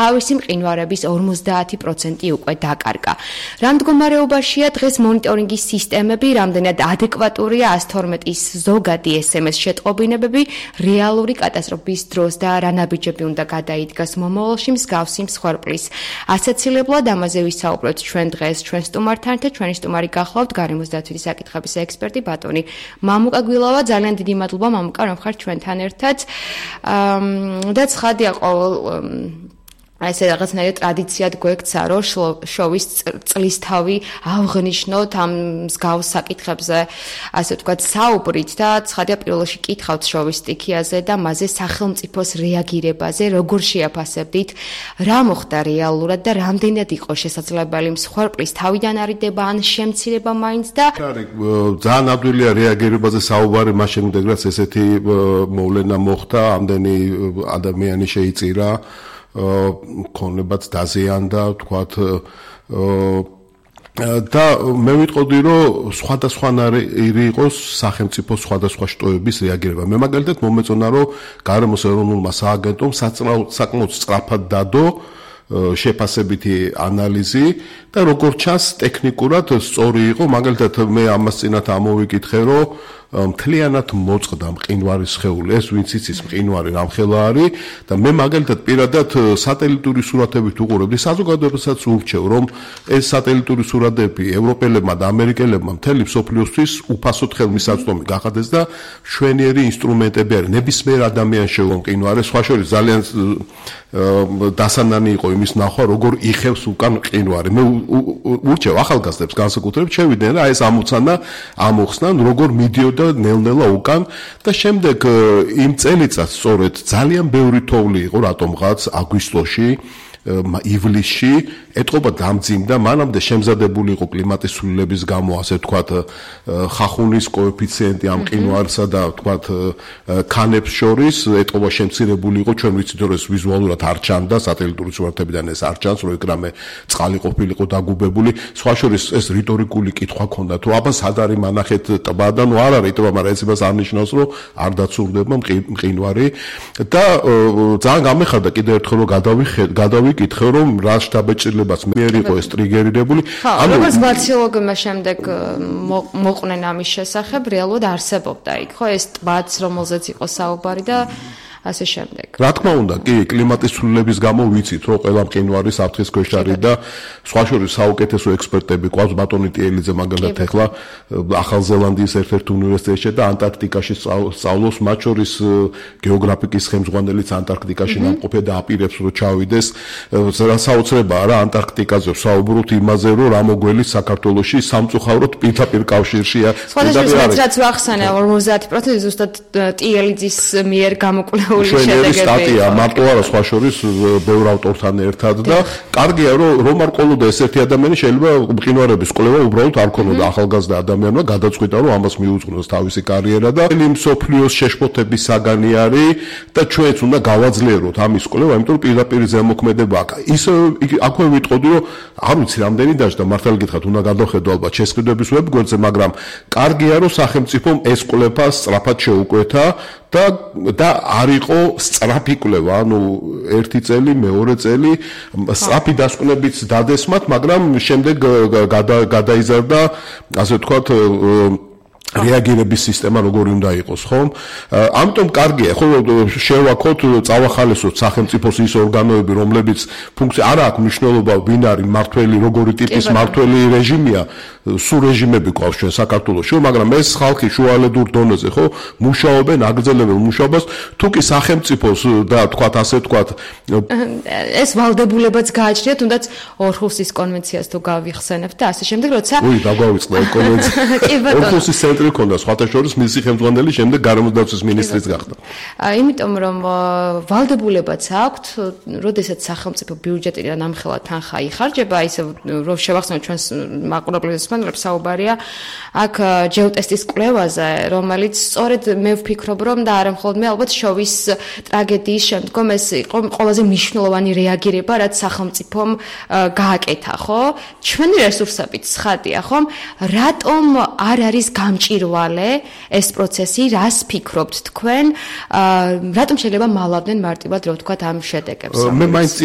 თავისი მყინვარების 50% უკვე დაკარგა. რა მდგომარეობაშია დღეს მონიტორინგის სისტემები, რამდენად ადეკვატურია 112-ის ზოგადი SMS შეტყობინებები რეალური კატასტროფის დროს და რა ნაბიჯები უნდა გადაიდგას მომავალში მსგავსი მსხვერპლის ასაცილებლად. ამაზე ვისაუბრებთ ჩვენ დღეს ჩვენ სტუმართან და ჩვენი სტუმარი გახლავთ გარემოს დაცვითი საკითხების ექსპერტი ბატონი მამუკა გვილავა. ძალიან დიდი მადლობა მამუკა რომ ხართ ჩვენთან ერთად. და ცხადია ყოველ ესე რაღაცნაირი ტრადიციად გვექცა, რომ შოვის წლისთავი ავღნიშნოთ ამ მსგავს საკითხებზე, ასე ვთქვათ, საუბრით და ცხადია პირველში კითხავთ შოვის სტიქიაზე და მასზე სახელმწიფოს რეაგირებაზე, როგორ შეაფასებდით, რა მოხდა რეალურად და რამდენად იყო შესაძლებელი მსხვერპლის თავიდან არიდება ან შემცირება მაინც და ძალიან ადვილია რეაგირებაზე საუბარი მას შემდეგ, რაც ესეთი მოვლენა მოხდა, ამდენი ადამიანი შეიწირა ქონებაც დაზიანდა, თქვათ და მე ვიტყოდი, რომ სხვადასხვანაირი იყოს სახელმწიფო სხვადასხვა შტოების რეაგირება. მე მაგალითად მომეწონა, რომ გარემოს ეროვნულმა სააგენტომ საკმაოდ სწრაფად დადო შეფასებითი ანალიზი და როგორც ჩანს ტექნიკურად სწორი იყო. მაგალითად მე ამას წინათ ამოვიკითხე, რომ მთლიანად მოწყდა მყინვარის სხეული, ეს ვინც იცის მყინვარი რამხელა არის და მე მაგალითად პირადად სატელიტური სურათებით უყურებდი, საზოგადოებასაც ურჩევ, რომ ეს სატელიტური სურათები ევროპელებმა და ამერიკელებმა მთელი მსოფლიოსთვის უფასოდ ხელმისაწვდომი გახადეს და მშვენიერი ინსტრუმენტები არის. ნებისმიერ ადამიანს შეუძლია მყინვარი, სხვა შორის ძალიან დასანანი იყო იმის ნახვა, როგორ იხევს უკან მყინვარი. მე ურჩევ ახალგაზრდებს განსაკუთრებით შევიდნენ რა ეს ამოცანა ამოხსნან, როგორ მიდიოდა ნელ-ნელა უკან და შემდეგ იმ წელიწადს სწორედ ძალიან ბევრი თოვლი იყო რატომღაც აგვისტოში ივლისში ეტყობა დამძიმდა, მანამდე შემზადებული იყო კლიმატის ცვლილების გამო, ასე ვთქვათ, ხახუნის კოეფიციენტი ამ მყინვარსა და ვთქვათ ქანებს შორის ეტყობა შემცირებული იყო. ჩვენ ვიცით, რომ ეს ვიზუალურად არ ჩანდა, სატელიტური სურათებიდან ეს არ ჩანს, რომ ეკრამე წყალი ყოფილიყო დაგუბებული. სხვა შორის ეს რიტორიკული კითხვა ჰქონდა, თუ აბა სად არის მანახეთ ტბა და ნუ არ არის ტბა, მაგრამ ეს იმას არ ნიშნავს, რომ არ დაცურდება მყინვარი და ძალიან გამეხარდა კიდევ ერთხელ რომ გადავიკითხე, რომ რა შთაბეჭდილებას მიერ იყო ეს ტრიგერირებული. როგორც გლაციოლოგებმა შემდეგ მოყვნენ ამის შესახებ, რეალურად არსებობდა იქ, ხო, ეს ტბაც, რომელზეც იყო საუბარი და ასე შემდეგ. რა თქმა უნდა, კი, კლიმატის ცვლილების გამო ვიცით, რომ ყველა მყინვარი საფრთხის ქვეშ არის და სხვა შორის საუკეთესო ექსპერტები ყავს, ბატონი ტიელიძე მაგალითად ახლა ახალ ზელანდიის ერთ-ერთ უნივერსიტეტში და ანტარქტიკაში სწავლობს, მათ შორის გეოგრაფიკის ხელმძღვანელიც ანტარქტიკაში ნამყოფია და აპირებს რომ ჩავიდეს. საოცრებაა რა ანტარქტიკაზე საუბრობთ იმაზე, რომ რა მოგველის საქართველოში სამწუხაროდ პირდაპირ კავშირშია. სხვადასხვა რაც ვახსენე 50% ზუსტად ტიელიძის მიერ გამოკვლიებული შვენიერი სტატია, მარტო არა სხვა შორის ბევრ ავტორთან ერთად და კარგია, რომ რომარ ყოლოდა ეს ერთი ადამიანი შეიძლება მყინვარების კვლევა უბრალოდ არ ქონოდა ახალგაზრდა ადამიანმა გადაწყვიტა, რომ ამას მიუძღვნოს თავისი კარიერა და მსოფლიოს შეშფოთების საგანი არის და ჩვენც უნდა გავაძლიეროთ ამის კვლევა, იმიტომ რომ პირდაპირ ზემოქმედება აქვს. ისე აქვე ვიტყოდი, რომ არ ვიცი რამდენი დაждდა, მართალი გითხრათ, უნდა გადავხედო ალბათ შესყიდვების ვებგვერდზე, მაგრამ კარგია, რომ სახელმწიფომ ეს კვლევა სწრაფად შეუკვეთა და არ იყო სწრაფი კვლევა, ანუ ერთი წელი, მეორე წელი სწრაფი დასკვნებიც დადესმათ, მაგრამ შემდეგ გადაიზარდა, ასე ვთქვათ, რეაგირების სისტემა როგორი უნდა იყოს, ხო? ამიტომ კარგია, ხო, შევაქოთ, წავახალისოთ სახელმწიფოს ის ორგანოები, რომლებიც ფუნქცია არ აქვს მნიშვნელობა, ვინ არის მართველი, როგორი ტიპის მართველი რეჟიმია, სულ რეჟიმები გვაქვს ჩვენ საქართველოში, მაგრამ ეს ხალხი შუალედურ დონეზე, ხო, მუშაობენ, აგრძელებენ მუშაობას, თუ კი სახელმწიფოს და თქვათ, ასე ვთქვათ, ეს ვალდებულებაც გააჩნია, თუნდაც ორჰუსის კონვენციას თუ გავიხსენებთ და ასე შემდეგ, როცა დაგვავიწყდა კონვენცია. ორჰუსის ცენტრი ქონდა, სხვათა შორის მისი ხელმძღვანელი შემდეგ გარემოს დაცვის მინისტრიც გახდა. იმიტომ რომ ვალდებულებაც აქვთ, როდესაც სახელმწიფო ბიუჯეტიდან ამხელა თანხა იხარჯება, ისე რომ შევახსენოთ ჩვენს მაყურებლებს საუბარია აქ ჯეოტესტის კვლევაზე, რომელიც სწორედ მე ვფიქრობ, რომ და არა მხოლოდ მე, ალბათ შოვის ტრაგედიის შემდგომ ეს იყო ყველაზე მნიშვნელოვანი რეაგირება, რაც სახელმწიფომ გააკეთა, ხო? ჩვენი რესურსებით ცხადია, ხო? რატომ არ არის გამჭირვალე ეს პროცესი, რას ფიქრობთ თქვენ? რატომ შეიძლება მალავდნენ მარტივად, რომ ვთქვათ, ამ შედეგებს? მე მაინც